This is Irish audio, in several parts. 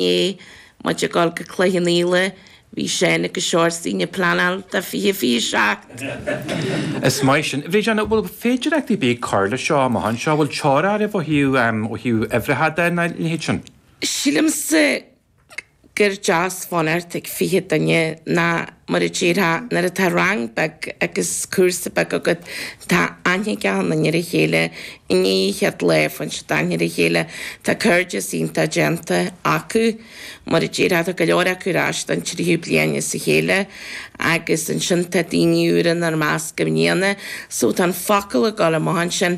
Inné, muid ag dul go Cloich Cheann Fhaola, bhí Seán agus Seoirsaín ag pleanáil do 2027. Is maith sin. Bhríd Anna, bhfuil féidireachtaí ar bith ag cur leis seo amach anseo? Bhfuil teora oraibh ó thaobh, ó thaobh uimhreacha de ná a leithéid sin? Sílimse gur deas fanacht ag 20 duine ná mar a déarfá nuair atá rang beag agus cúrsa beag agat tá aithne ag achan duine ar a chéile I ndiaidh an chéad lae faigheann siad aithne ar a chéile. Tá cairdeas iontach déanta acu. Mar a déarfá, tá go leor acu ar ais don tríú bliain as a chéile agus ansin tá daoine úra inár measc i mbliana so tá an focal ag dul amach ansin.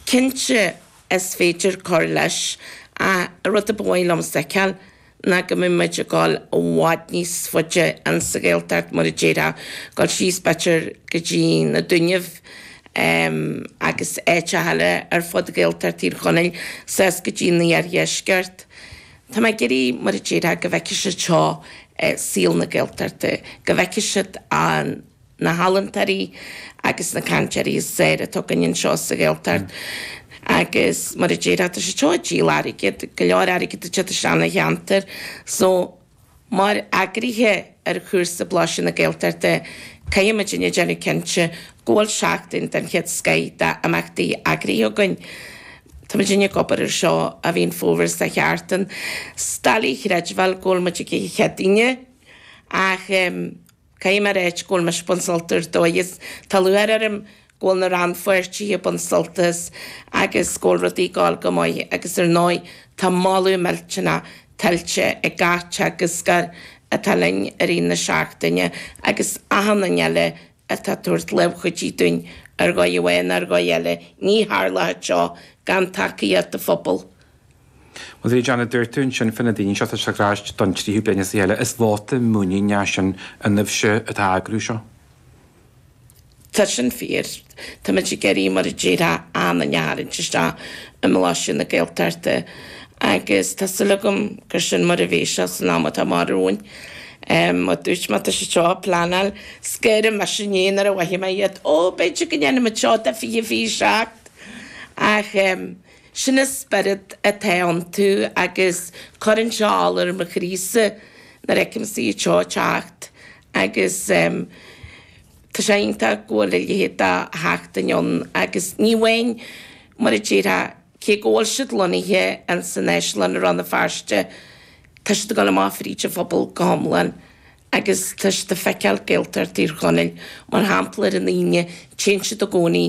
Cinnte is féidir cur leis ach an rud a ba mhaith liomsa a fheiceáil, ná go mbeidh muid ag dul i bhfad níos faide ins sa Ghaeltacht, mar a déarfá, dul síos b'fhéidir go dtí na Dúnaibh agus áiteacha eile ar fud Ghaeltacht Thír Chonaill, suas go dtí an iardheisceart. Tá mé ag iarraidh, mar a déarfá, go bhfeicfidh siad seo saol na Gaeltachta, go bhfeicfidh siad an. na healaíontóirí agus na cainteoirí is fearr atá againn anseo sa Ghaeltacht agus mar a déarfá tá siad seo ag díol airgid, go leor airgid ag teacht isteach ina cheantar so mar eagraithe ar chúrsa Blaiseadh na Gaeltachta caithfidh muidinne déanamh cinnte go bhfuil seachtain den chéad scoith d'imeachtaí eagraithe againn. Tá muidinne ag obair ar seo ó mhí an Fómhair is a cheart an is doiligh a chreidbheáil go bhfuil muid ag an Chéadaoine ach Caithfidh mé a ráit go bhfuil mise ag baint sult ar dóigh is tá lúcháir orm go bhfuil na rannpháirtithe ag baint sult as agus go bhfuil rudaí ag dul go maith agus ar ndóigh tá moladh millteanach tuillte ag gach teagascóir atá linn i rith na seachtaine agus achan duine eile atá ag tabhairt lámh chuidithe dúinn ar dhóigh amháin nó ar dhóigh eile. Ní tharlódh seo gan tacaíocht an phobail. Bhuel, a Bhríd Anna, dúirt tú ansin fá na daoine seo atá ag teacht ar ais don tríú bliain as a chéile, is vóta muiníne é sin ionaibhse atá ag eagrú seo. Tá sin fíor. Tá muid ag iarraidh, mar a déarfá, achan duine a tharraingt isteach i mBlaiseadh na Gaeltachta agus tá súil agam gur sin mar a bheidh sé san am atá amach romhainn. Mar a dúirt mé, tá siad seo ag pleanáil. Scaoileadh mise inné nuair a mhothaigh mé iad, Ó, b'fhéidir go ndéanfaidh muid seo do 2027! Ach. Sin an spiorad atá iontu agus cuireann sé ola ar mo chroísa nuair a fheicimse iad seo ag teacht agus tá sé iontach go bhfuil a leithéid de sheachtain ann agus ní amháin mar a déarfá cé go bhfuil siad lonnaithe ins an Áislann i Rann na Feirste tá siad ag dul amach fríd an phobal go hiomlán agus tá siad ag feiceáil Gaeltacht Thír Chonaill mar shampla ar an Aoine téann siad i gcónaí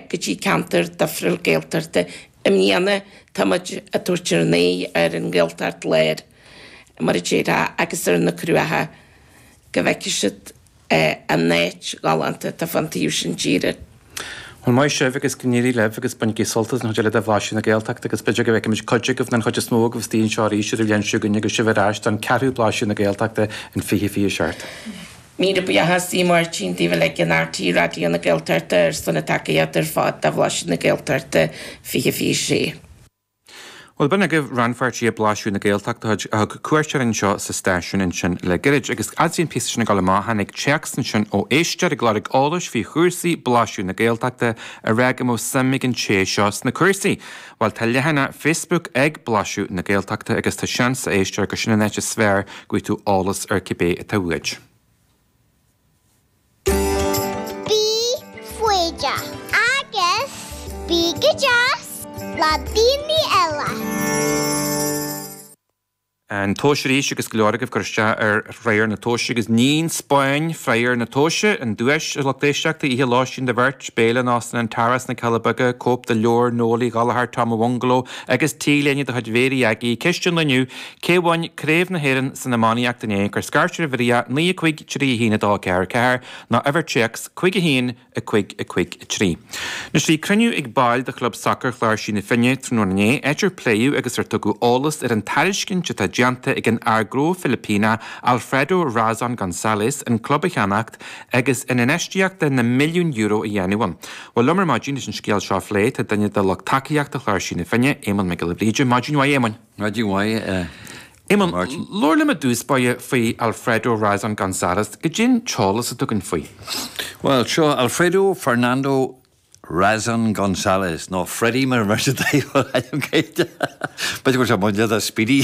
go dtí ceantar difriúil Gaeltachta. I mbliana tá muid ag tabhairt ár n-aghaidh ar an nGaeltacht Láir, mar a déarfá, agus ar na Cruacha, go bhfeicfidh siad an áit ghalánta atá fán taobh sin tíre. Bhuel, maith sibh agus go n-éirí libh agus bainigí sult as an chuid eile de Bhlaiseadh na Gaeltachta agus b'fhéidir go bhfeicfimid cuid agaibh nó an chuid is mó agaibh istigh anseo arís ar an bhliain seo chugainn agus sibh ar ais don ceathrú Blaiseadh na Gaeltachta in 2027. Míle buíochas a Mháirtín daoibh uilig in RTÉ Raidió na Gaeltachta ar son na tacaíochta ar fad do Bhlaiseadh na Gaeltachta 2026. Bhuel, b'in agaibh rannpháirtithe Blaiseadh na Gaeltachta a thug cuairt orainn anseo sa stáisiún ansin le gairid. Agus fhad is a bhí an píosa sin ag dul amach, tháinig téacs ansin ó éisteoir ag lorg eolais faoi chúrsaí Blaiseadh na Gaeltachta ag rá go mbeadh suim ag an té seo sna cúrsaí. Bhuel, tá leathanach Facebook ag Blaiseadh na Gaeltachta agus tá seans, a éisteoir, gur sin an áit is fearr go bhfaighidh tú eolas ar cibé atá uait. Bí foighdeach agus bí go deas le daoine eile. An tomhas arís agus go leor agaibh ag cur isteach ar threoir na tomhaise agus ní an Spáinn threoir na tomhaise, an duais, a lucht éisteachta, oíche lóistín do bheirt, béile in Óstán an Tara sna Cealla Beaga, cóip de leabhar Noel Uí Ghallchóir Tom a' Bhungaló agus T-léine de chuid Mhéirí Aggie. Ceist an lae inniu, Cé bhain Craobh na hÉireann san iománaíocht inné? Cuir scairt ar uimhir 9 5 3 1 2 4 4 nó uimhir téacs 5 1 5 5 3. Anois bhí cruinniú ag baill de Chlub Sacair Chláirsí na Finne tráthnóna inné, áit ar pléadh agus ar tugadh eolas ar an tairiscint atá déanta ag an fhear gnó Filipíneach Alfredo Razon Gonzalez an club a cheannacht agus an infheistíocht de na milliúin euro a dhéanamh ann. Bhuel liom ar maidin leis an scéal seo a phlé tá duine de lucht tacaíochta Chláirsí na Finne, Éamonn Mac Giolla Bhríde. Maidin mhaith Éamoinn. Maidin mhaith a Éamonn, labhair liom i dtús báire faoi Alfredo Razon Gonzalez. Goidé an t-eolas atá againn faoi? Bhuel, seo Alfredo Fernando. Razon Gonzalez, nó Freddie mar a bheir siad air, ainm Gaeilge. B'fhéidir go bhfuil sé bunaithe ar Speedy.